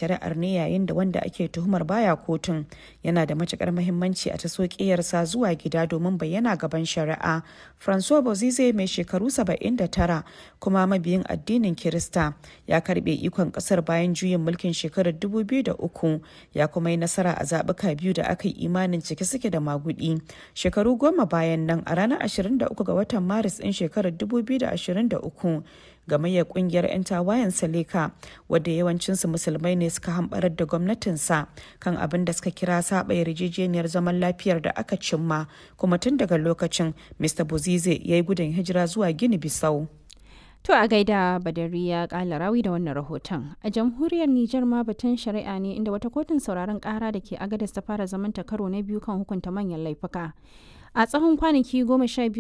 Shari'ar ne yayin da wanda ake tuhumar baya kotun yana da matukar muhimmanci a taso ƙeyarsa zuwa gida domin bayyana gaban shari'a. François Bozize, mai shekaru 79 kuma mabiyin addinin Kirista, ya karbe ikon kasar bayan juyin mulkin shekarar 2003, ya kuma yi nasara a zabuka biyu da aka yi imanin cike suke da magudi. Shekaru 10 bayan nan, a ranar 23 ga watan Maris ɗin shekarar 2023, gamayyar kungiyar 'yan tawayen Seleka, wadda yawancinsu Musulmai ne, suka hambarar da gwamnatinsa kan abin da suka kira saba yarjejeniyar zaman lafiyar da aka cimma, kuma tun daga lokacin Mr. Bozize ya yi gudun hijira zuwa Gini Bisau. To a gaida Badariya Kala Rawi da wannan rahoton. A jamhuriyar Nijar ma batun shari'a ne, inda wata kotun sauraron kara da ke Agadez ta fara zamanta karo na biyu kan hukunta manyan laifuka. A tsawon kwanaki 12.